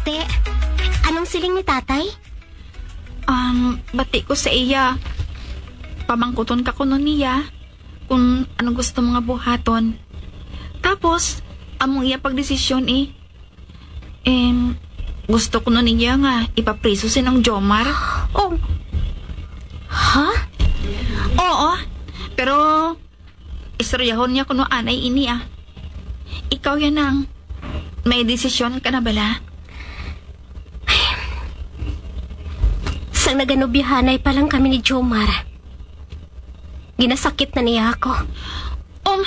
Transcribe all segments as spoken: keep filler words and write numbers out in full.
Te, anong siling ni tatay? Um, bati ko sa iya. Pamangkuton ka kuno niya kung anong gusto mo nga buhaton. Tapos, among iya pagdesisyon eh. Em, gusto kuno niya nga ipapriso si Nang Jomar. Oh. Ha? Oo, pero istoryahon niya kuno anay ini ah. Ikaw yan ang may desisyon ka na bala? Sang naganobyahanay pa lang kami ni Jomar, ginasakit na niya ako. Um,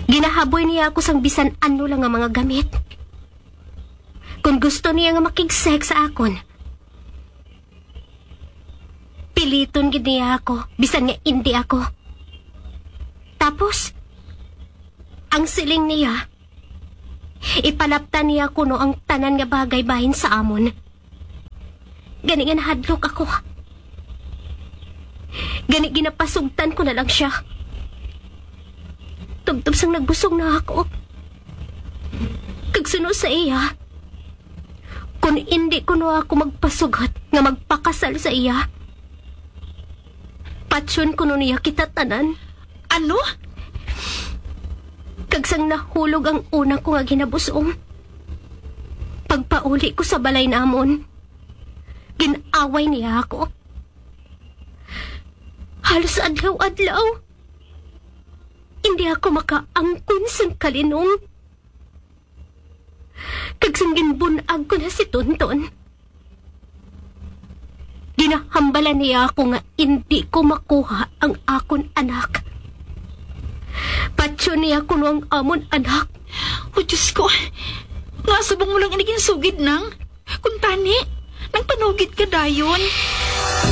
Ginahaboy niya ako sang bisan ano lang nga mga gamit. Kung gusto niya nga makig-sex sa akon, piliton gid niya ako, bisan nga indi ako. Tapos, ang siling niya, ipalaptan niya kuno ang tanan nga bagay bahin sa amon. Gani nga nahadlok ako. Gani ginapasugtan ko na lang siya. Tubtob sang nagbusong na ako. Kag suno sa iya, kung indi kuno ako magpasugot nga magpakasal sa iya, patyon kuno niya kita tanan. Ano? Kag sang nahulog ang una ko nga ginabusong, pagpauli ko sa balay namon, gin-away niya ako. Halos adlaw-adlaw, hindi ako makaangkon sang kalinong. Kag sang ginbun-ag ko na si Tonton, ginahambalan niya ako nga indi ko makuha ang akon anak. Patyon niya kuno ang amon anak. O Diyos ko, nga subong mo lang ini ginsugid, Nang? Kung tani, nang panugid ka dayon.